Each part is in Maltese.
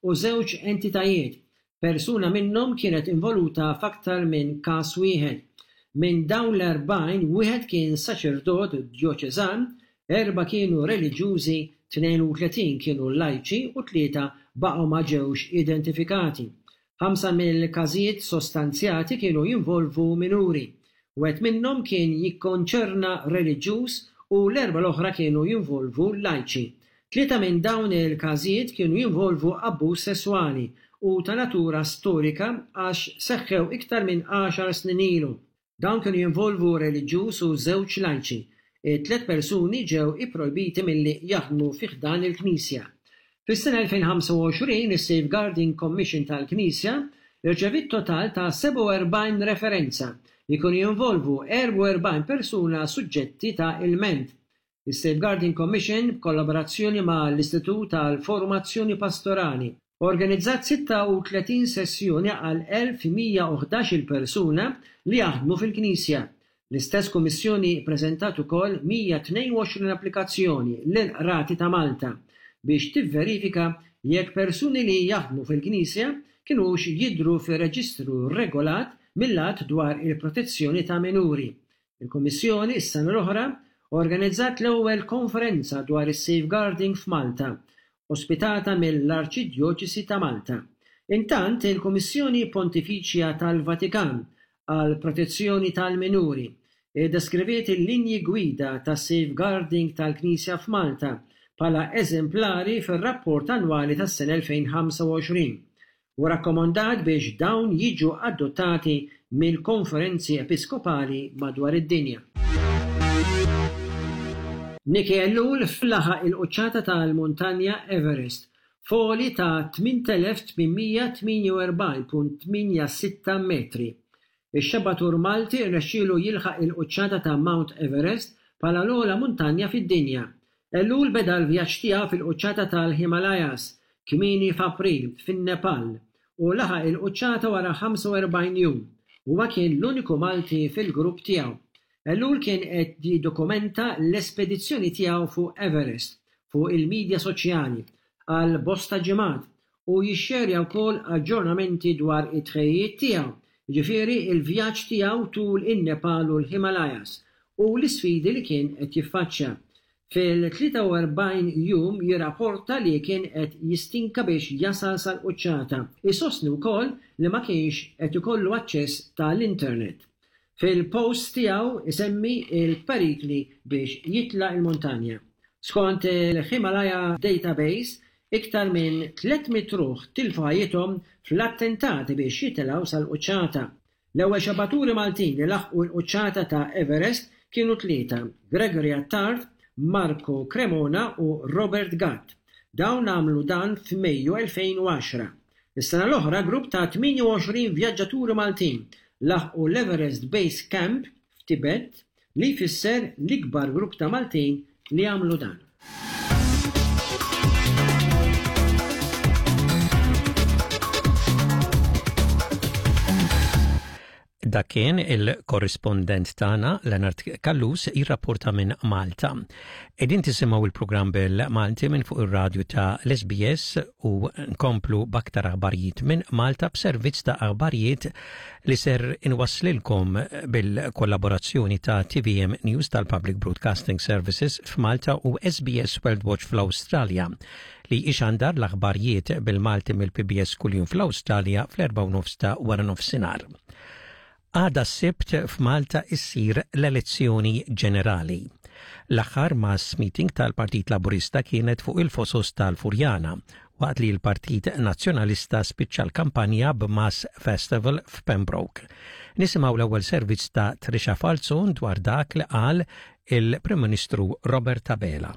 u żewġ entitajiet. Persuna minnhom kienet involuta f'aktar minn każ wieħed. Minn dawn l-40, wieħed kien saċerdot djoċeżan, erbgħa kienu reliġjużi, 32 kienu lajċi u tlieta baqgħu ma ġewx identifikati. Ħamsa mill-każijiet sostanzjati kienu jinvolvu minuri. Wieħed minnhom kien jikkonċerna reliġjuż u l-erbgħa l-oħra kienu jinvolvu lajċi. Tlieta minn dawn il-każijiet kienu jinvolvu abbuż sesswali u ta' natura storika għax seħħew iktar minn għaxar snin ilu. Dawn kienu jinvolvu reliġjuż u żewġ lajċi. It-tliet persuni ġew ipprojbiti milli jaħdmu fi ħdan il-Knisja. Fis-sena 2025, is-Safeguarding Commission tal-Knisja rċeviet total ta' 47 referenza li kienu jinvolvu 44 persuna suġġetti ta' ilment. Is-Safeguarding Commission, b'kollaborazzjoni ma' l-Istitut għall-Formazzjoni Pastorali, organizzat 36 sessjoni għal 1,111-il persuna li jaħdmu fil-Knisja. L-istess Kummissjoni ppreżentat ukoll 122 applikazzjoni lill-Qrati ta' Malta biex tivverifika jekk persuni li jaħdmu fil-Knisja kinux jidhru fir-reġistru regolat mill-Att dwar il-Protezzjoni ta' Minuri. Il-Kummissjoni, is-sena l-oħra, organizzat l-ewwel konferenza dwar is-safeguarding f'Malta, ospitata mill-Arċidjoċesi ta' Malta. Intant, il-Kummissjoni Pontifiċja tal-Vatikan għall-Protezzjoni tal-Minuri ddeskriviet il-linji gwida tas-safeguarding tal-Knisja f'Malta bħala eżemplari fir-rapport annwali tas-sena 2025. u rakkomandat biex dawn jiġu adottati mill-konferenzi episkopali madwar id-dinja. Nicky Ellul laħaq il-quċċata tal-Muntanja Everest f'għoli ta' 8,848.86 metri. Ix-xebbatur Malti rnexxielu jilħaq il-quċċata ta' Mount Everest bħala l-ogħla muntanja fid-dinja. Ellul beda l-vjaġġ tiegħu fil-quċċata tal-Himalayas kmieni f'April fin-Nepal u laħaq il-quċċata wara 45 jum. Huwa kien l-uniku Malti fil-grupp tiegħu. Ellul kien qed jiddokumenta l-espedizzjoni tiegħu fuq Everest fuq il-midja soċjali għal bosta ġimgħat u jixxerja wkoll aġġornamenti dwar it-tħejjijiet tiegħu, jiġifieri l-vjaġġ tiegħu tul in-Nepal u l-Himalayas u l-isfidi li kien qed jiffaċċja. Fil-43 jum jirrapporta li kien qed jistinka biex jasal sal-quċċata. Isostni wkoll li ma kienx qed ikollu aċċess ta' l-internet. Fil-post tiegħu isemmi l-perikli biex jitla' l-muntanja. Skont il-Himalaya Database, iktar minn 300 ruħ tilfu ħajjithom fl-attentati biex jitilgħu sal-quċċata. L-ewwel xabaturi Maltin li laħqu l-quċċata ta' Everest kienu tlieta, Gregory Attard, Marco Cremona u Robert Gatt. Dawn għamlu dan f'Mejju 2010. Is-sena l-oħra grupp ta' 28 vjaġġaturi Maltin laħqu l-Everest Base Camp f'Tibet li jfisser l-ikbar grupp ta' Maltin li għamlu dan. Dak kien il-korrispondent tagħna Leonard Callus jirrapporta minn Malta. Qegħdin tisimgħu il-programm bil-Malti minn fuq ir-radju ta' l-SBS u nkomplu b'aktar aħbarijiet minn Malta b'servizz ta' aħbarijiet li ser inwasslilkom bil-kollaborazzjoni ta' TVM News tal-Public Broadcasting Services f'Malta u SBS World Watch fl-Awstralja li ixandar l-aħbarijiet bil-Malti mill-PBS kuljum fl-Awstralja fl-4 ta' wara nofsinhar. Għada s-Sibt f'Malta issir l-elezzjoni ġenerali. L-aħħar mass meeting tal-Partit Laburista kienet fuq il-Fosos tal-Furjana, waqt li l-Partit Nazzjonalista spiċċa l-kampanja b'mass festival f'Pembroke. Nisimgħu l-ewwel servizz ta' Trisha Falzon dwar dak li qal il-Prim Ministru Robert Abela.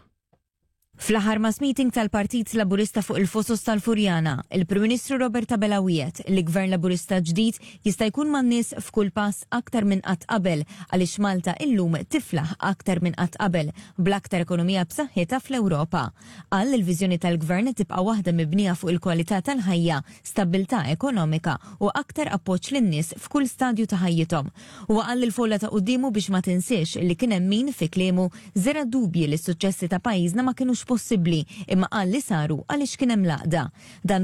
Fl-aħħar mass meeting tal-Partit Laburista fuq il-Fosos tal-Furjana, il-Prim Ministru Robert Abela wiegħed li Gvern Laburista ġdid jista' jkun man-nies f'kull pass aktar minn qatt qabel għaliex Malta illum tiflaħ aktar minn qatt qabel bl-aktar ekonomija b'saħħitha fl-Ewropa. Qal li l-viżjoni tal-Gvern tibqa' waħda mibnija fuq il-kwalità tal-ħajja, stabbiltà ekonomika u aktar appoġġ lin-nies f'kull stadju ta' ħajjithom. Huwa qal lill-folla ta' quddiemu biex ma tinsiex li kien hemm min, fi kliemu, żera' dubji li s-suċċessi ta' pajjiżna ma kinux possibbli imma qal li saru għaliex kien hemm l-għaqda. Dan.